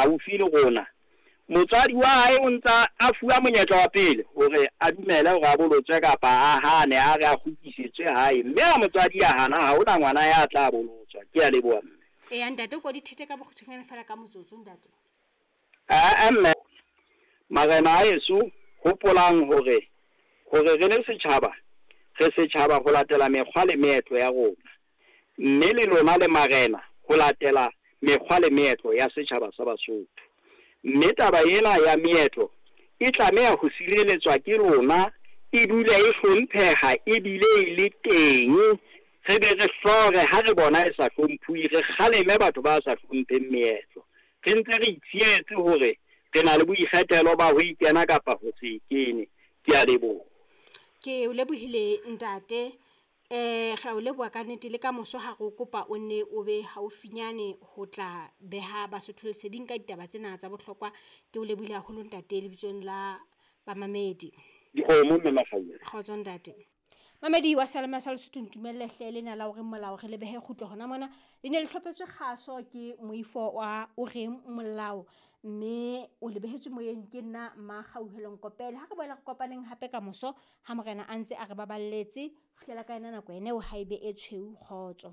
haufi le rona, motswadi wa hae o ntsa a fuwa monyetla wa pele hore a dumele hore a bolotswe kapa a hane, a re a kgutlisetswe hae. Mme ha motswadi a hana, ha hona ngwana ya tla bolotswa. Ke a leboha, mme. Eya ntate, o ko di thete ka bokgutshwanyane fela ka motsotso, ntate. Aa mme, marena a heso, hopolang hore hore re le setjhaba, re setjhaba ho latela mekgwa le meetlo ya rona. Mme le lona le marena ho latela mekgwa le meetlo ya setjhaba sa Basotho. Mme taba ena ya meetlo e tlameha ho sireletswa ke lona, e dule e hlompheha ebile e le teng. Re be re hlore ha re bona e sa hlomphuwe, re kgaleme batho ba sa hlompheng meetlo. Re ntse re itshietse hore re na le boikgethelo ba ho e kena kapa ho se e kene. Ke a leboha. Ke o lebohile, ntate. Re a o leboha ka nnete, le ka moso ha re o kopa o nne o be haufinyane ho tla beha Basotho leseding ka ditaba tsena tsa bohlokwa. Ke o lebohile haholo, ntate, lebitsong la bamamedi. Dikgomo, mme Makganya. Kgotso, ntate. Mamedi wa Seyalemoya sa Lesotho, ntumelle hle lena la hore molao re le behe kgutlo hona mona. Le ne le hlophetswe kgaso ke moifo wa o reng molao, mme o le behetswe moyeng ke nna Mmakgauhelo Nkopele. Ha re boela re kopaneng hape ka moso ha morena a ntse a re baballetse. Fihlela ka yona nako ene eo, ha ebe e tshweu. Kgotso.